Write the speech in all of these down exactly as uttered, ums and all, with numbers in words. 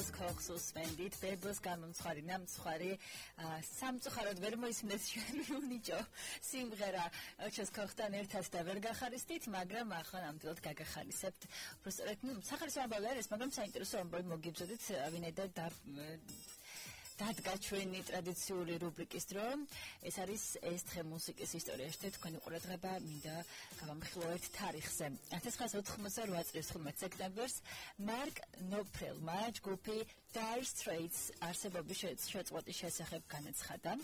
Bebos kochs usvendit, Bebos გამომცხარი ნამცხარი სამწუხაროდ ვერ მოისმინეს ჩვენი უნიჭო სიმღერა ოჩოს ქოხთან ერთად და ვერ გახარისტით, მაგრამ ახლა ნამდვილად გაგახარისებთ. Უბრალოდ ნუ სახარისო ამბავი არის, მაგრამ საინტერესო ამბავი მოგიბზოდით, ვინაიდან და დადგა ჩვენი ტრადიციული რუბრიკის დრო. ეს არის ეს დღე მუსიკის ისტორიაში და თქვენი ყურადღება მინდა გავამხილოთ თარიღზე. ათას ცხრაასა ოთხმოცდაოთხ წლის ხუთმეტ სექტემბერს მარკ ნოპფლერმა ჯგუფი Dire Straits არსებობის შეწყვეტის შესახებ განაცხადა.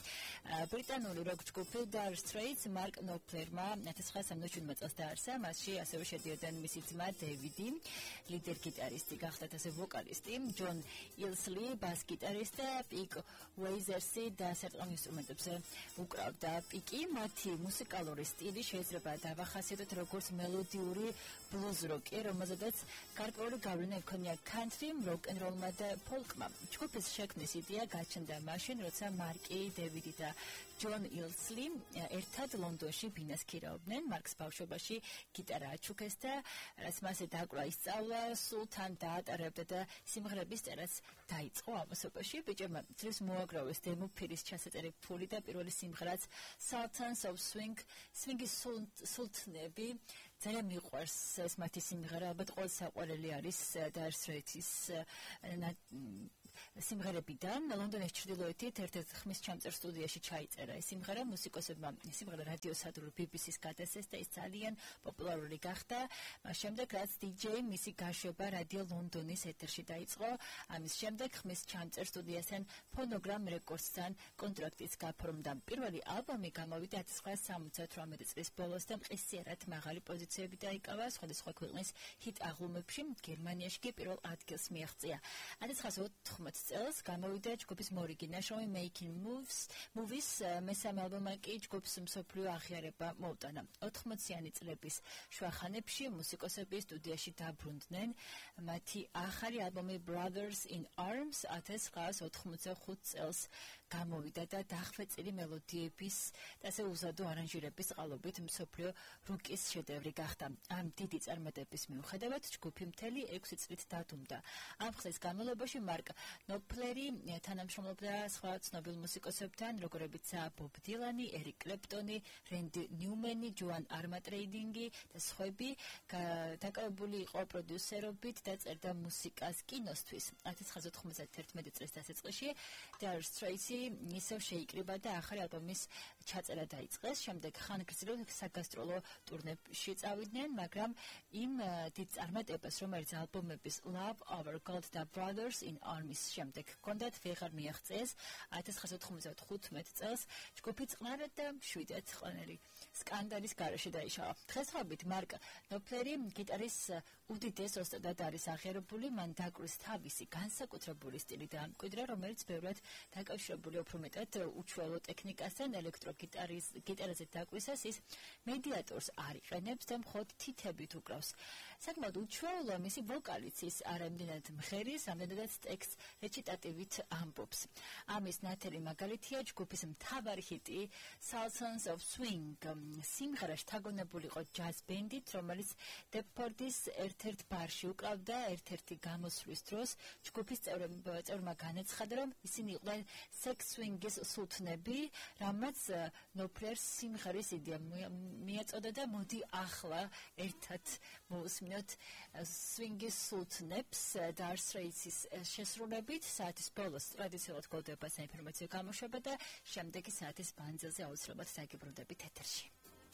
ბრიტანული როკ ჯგუფი Dire Straits მარკ ნოპფლერმა ათას ცხრაასა სამოცდაშვიდ წელს დაარსა. მასში ასევე შედიოდნენ მისი ძმა დევიდი, ლიდერ გიტარისტი, გახდათ ასე ვოკალისტი, ჯონ ილსლი, ბას გიტარისტი და პიკ უეიზერსი და საერთო ინსტრუმენტებზე უკრავდა. პიკი მათი მუსიკალური სტილი შეიძლება დავახასიათოთ როგორც მელოდიური ბლუზ როკი, რომელზედაც გარკვეული გავლენა ექონია country, rock and roll-მა და folk-მა. ჯგუფის შექმნის იდეა გაჩნდა მაშინ, როცა მარკი, დევიდი და ჯონ ილსლი ერთად ლონდონში ბინას ქირაობდნენ. მარკს ბავშვობაში გიტარა აჩუქეს და რაც მასე დაკვრა ისწავლა, სულ თან დაატარებდა და სიმღერების წერაც დაიწყო ამასობაში. ბიჭებმა ძირს მოაგროვეს დემო ფირის ჩასაწერი ფული და პირველი სიმღერაც Sultans of Swing, swing-ის სულთნები. ძალიან მიყვარს ეს მათი სიმღერა, ალბათ ყოველ საყვარელი არის Dire Straits-ის სიმღერებიდან. ლონდონის ჩრდილოეთით ერთ-ერთ ხმის ჩამწერ სტუდიაში ჩაიწერა ეს სიმღერა. მუსიკოსებმა სიმღერა რადიოსადურ ბი ბი სის გადასცეს და ის ძალიან პოპულარული გახდა. მას შემდეგ რაც დი ჯეი მისი გაშვება რადიო ლონდონის ეთერში დაიწყო, ამის შემდეგ ხმის ჩამწერ სტუდიასთან Phonogram Records-თან კონტრაქტიც გაფორმდა. პირველი ალბომი გამოვიდა ათას ცხრაასა სამოცდათვრამეტ წლის ბოლოს და მყისიერად მაღალი პოზიციები დაიკავა სხვადასხვა ქვეყნის ჰიტ აღლუმებში. გერმანიაში კი პირველ ადგილს მიაღწია. ათას ცხრაასა ოთხმოცდაოთხ წელს გამოვიდა ჯგუფის მორიგი ნაშრომი Making Moves, Movies, მესამე ალბომმა კი ჯგუფს მსოფლიო აღიარება მოუტანა. ოთხმოციანი წლების შუახანებში მუსიკოსები სტუდიაში დაბრუნდნენ. მათი ახალი ალბომი Brothers in Arms ათას ცხრაასა ოთხმოცდახუთ წელს გამოვიდა და დახვეწილი მელოდიების და ასე უზადო არანჟირების წყალობით მსოფლიო როკის შედევრი გახდა. ამ დიდი წარმატების მიუხედავად ჯგუფი მთელი ექვსი წლით დადუმდა. ამ ხნის განმავლობაში მარკ ნოპფლერი თანამშრომლობდა სხვა ცნობილ მუსიკოსებთან, როგორებიცაა ბობ დილანი, ერიკ კლეპტონი, რენდი ნიუმენი, ჯოან არმატრეიდინგი და სხვები. დაკავებული იყო პროდიუსერობით და წერდა მუსიკას კინოსთვის. ათას ცხრაასა ოთხმოცდაერთმეტ წლის დასაწყისში Dire Straits ისევ შეიკრიბა და ახალი ალბომის ჩაწერა დაიწყეს. შემდეგ ხანგრძლივ საგასტროლო ტურნეებში წავიდნენ, მაგრამ იმ დიდ წარმატებას, რომელიც ალბომების Love Over Gold და Brothers in Arms შემდეგ ჰქონდათ, ვეღარ მიაღწიეს. ათას ცხრაასა ოთხმოცდათხუთმეტ წელს ჯგუფი წყნარად და მშვიდად ყველანაირი სკანდალის გარეშე დაიშალა. დღესდღეობით მარკ ნოპფლერი გიტარის უდიდეს ოსტატად არის აღიარებული. მან დაკვრეს თავისი განსაკუთრებული სტილი და მკვიდრა, რომელიც ბევრად დაკავშირებული უფრო მეტად უჩვეულო ტექნიკასთან. ელექტროგიტარის გიტარაზე დაკვისას ის მედიატორს არ იყენებს და მხოლოდ თითებით უკრავს. საკმაოდ უჩვეულო მისი ვოკალიც, ის არ ამდენად მღერის, ამდენადაც ტექსტს რეჩიტატივით ამბობს. ამის ნათელი მაგალითია ჯგუფის მთავარი ჰიტი Sultans of Swing. სიმღერა შთაგონებული იყო ჯაზ ბენდით, რომელიც დეპფორდის ერთ-ერთ ბარში უკრავდა. ერთ-ერთი გამოსვლის დროს ჯგუფის წევრებმა განაცხადა, რომ ისინი იყვნენ sex swing-ის სულთნები, რამაც ნოპფლერს სიმღერის იდეა მიაწოდა და მოდი ახლა ერთად მოусმინოთ swing-ის სულთნებს Dire Straits-ის შესრულებით. საათის ბოლოს ტრადიციულად გოლდება საინფორმაციო გამოშვება და შემდეგი საათის მანძილზე აუცილებლად დაგიბრუნდებით ეთერში.